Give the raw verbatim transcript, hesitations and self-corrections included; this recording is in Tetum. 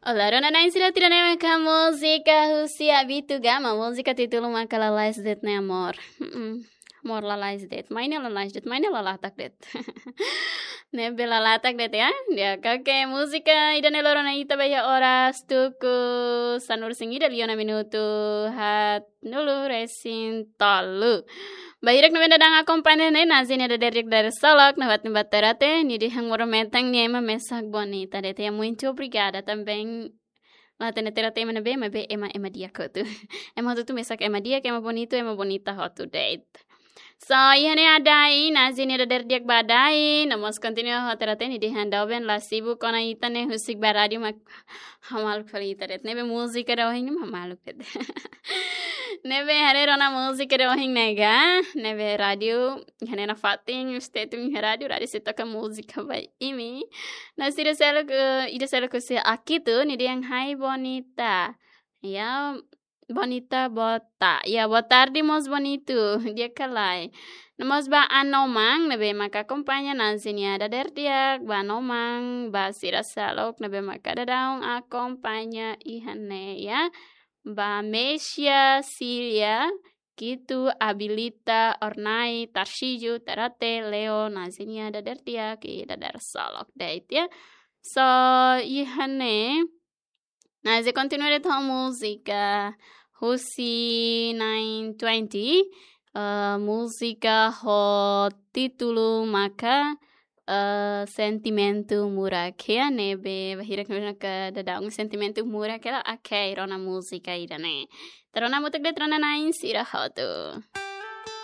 Olá, rona-na'in sira, ida-ne'e maka múzika husi Abito Gama, múzika títulu maka Lalais De'it Ne'e Amor. Mm-mm. Amor lalais de'it, mai ne'e lalais de'it, mai ne'e lalatak de'it. Ne'ebé lalatak de'it ya. Ya, oke, múzika ida-ne'e lori ona ita ba iha oras tuku sanulu-resin-ida liu ona minutu haat-nulu-resin-tolu. Ba hirak ne'ebé daudaun akompaña ne'e, Nazi nia dadeer di'ak dadeer-seluk, nafatin ba Terate, nia dehan modo metan nia ema mesak bonita de'it ya, muito obrigada também. La hatene Terate ema ne'ebé, maibé ema, ema di'ak hotu. Ema hotu-hotu mesak ema di'ak, ema bonitu, ema bonita hotu de'it. So, iha ne'e Adai, Nazi nia dadeer di'ak ba Adai, no mós kontinua ho Terate, nia dehan doben la sibuk ona ita ne'e husik ba rádiu mak hamaluk fali ita de'it. Ne'ebé múzika ida ohin ne'e hamaluk de'it. Ne'ebé haree rona múzika ida ohin ne'e ga, ne'ebé rádiu, iha ne'e nafatin, stay tune iha rádiu, rádiu sei toka múzika ba imi. No sira seluk, eh, ida seluk husi Akito, nia dehan hai bonita. Ya, bonita boa ta-, ya, boa tarde mós bonitu, di'ak ka lae. No mós ba Anomang, ne'ebé maka akompaña Nazi nia dadeer di'ak, ba Anomang, ba sira seluk, ne'ebé maka daudaun akompaña iha ne'e ya. Ba Mesia, Silia, Kitu, Abilita, Ornai, Tarsiju, Terate, Leo, Nazi nia dadeer di'ak, i dadeer-seluk de'it ya. So, iha ne'e, Nazi kontinua de'it ho múzika husi nine twenty, eh, múzika ho títulu maka, eh, Sentimentu Murak ya, ne'ebé ba hirak ne'ebé maka daudaun sentimentu murak ya, oke, rona múzika ida-ne'e. Ita rona hamutuk de'it rona-na'in sira hotu.